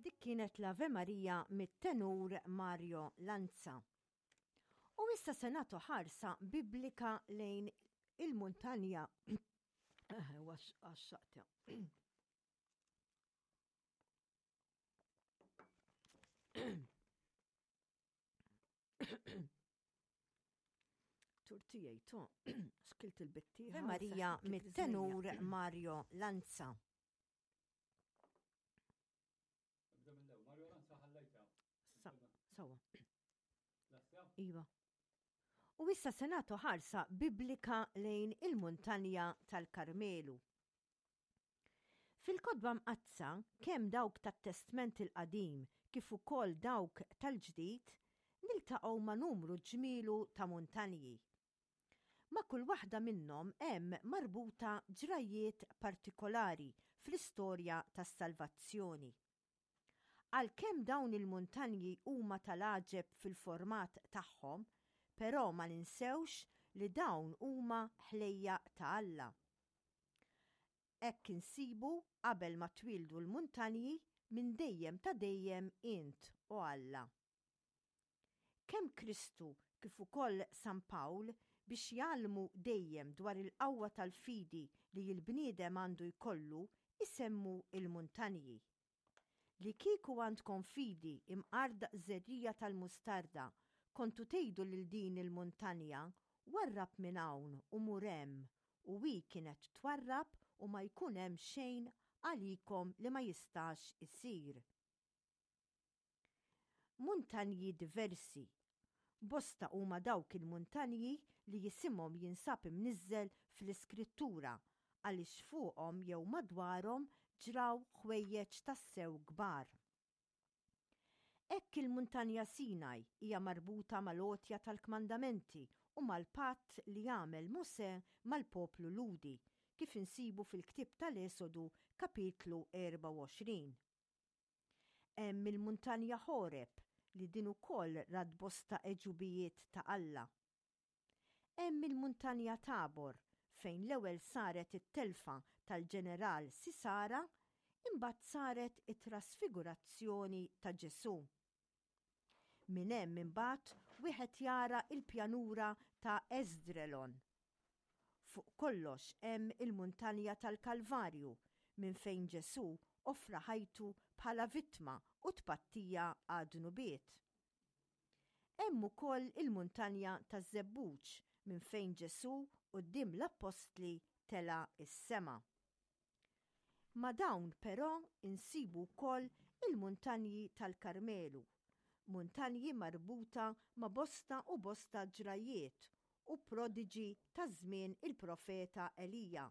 Dik kienet l-Ave Maria mit-tenur Mario Lanza. U issa se nagħtu ħarsa biblika lejn il-muntanja għax-xaqta. Turtijaj to, xkilt il-bitti. Marija mit-tenur Mario Lanza. Mario Lanza ħallejta. Sawa. Iva. U issa se nagħtu ħarsa biblika lejn il-muntanja tal-Karmelu. Fil-Kotba Mqaddsa, kemm dawk tat-Testment il-Qadim kif ukoll dawk tal-Ġdid, niltaqgħu ma' numru ġmielu ta' muntanji. Ma' kull waħda minnhom hemm marbuta ġrajjiet partikolari fl-istorja tas-salvazzjoni. Għalkemm dawn il-muntanji huma tal-għaġeb fil-format tagħhom, però ma ninsewx li dawn huma ħlejjaq ta' Alla. Hekk insibu qabel ma twieldu l-muntanji, minn dejjem ta' dejjem int, o Alla. Kemm Kristu kif ukoll San Pawl biex jgħallmu dejjem dwar il-qawwa tal-fidi li l-bniedem għandu jkollu isemmu l-muntanji. Li kieku għandkom fidi imqar daqs żerriegħa tal-mustarda, kontu tgħidu lil din il-muntanja, 'Warrab minn hawn u mur hemm', u hi kienet twarrab u ma jkun hemm xejn għalikom li ma jistax isir. Muntanji diversi. Bosta huma dawk il-muntanji li isimhom jinsab imniżżel fl-Iskrittura għaliex fuqhom jew madwarhom ġraw ħwejjeġ tassew kbar. Hekk il-Muntanja Sinaj hija marbuta mal-għotja tal-kmandamenti u mal-patt li għamel Mosè mal-poplu Lhudi, kif insibu fil-ktieb tal-Esodu kapitlu 24. Hemm il-Muntanja Ħoreb li din ukoll rat bosta għeġubijiet ta' Alla. Hemm il-Muntanja Tabor fejn l-ewwel saret it-telfa tal-ġeneral Sisara imbagħad saret it-trasfigurazzjoni ta' Ġesù. Minn hemm imbagħad wieħed jara l-pjanura ta' Esdrelon. Fuq kollox hemm il-muntanja tal-Kalvarju minn fejn Ġesù offra ħajtu bħala vittma u tpattija għad-dnubiet. Hemm ukoll il-muntanja taż-Żebbuġ minn fejn Ġesù quddiem l-appostli tela' s-sema. Ma' dawn però insibu wkoll il-muntanji tal-Karmelu, muntanji marbuta ma' bosta u bosta ġrajjiet u prodiġi ta' żmien il-profeta Elija.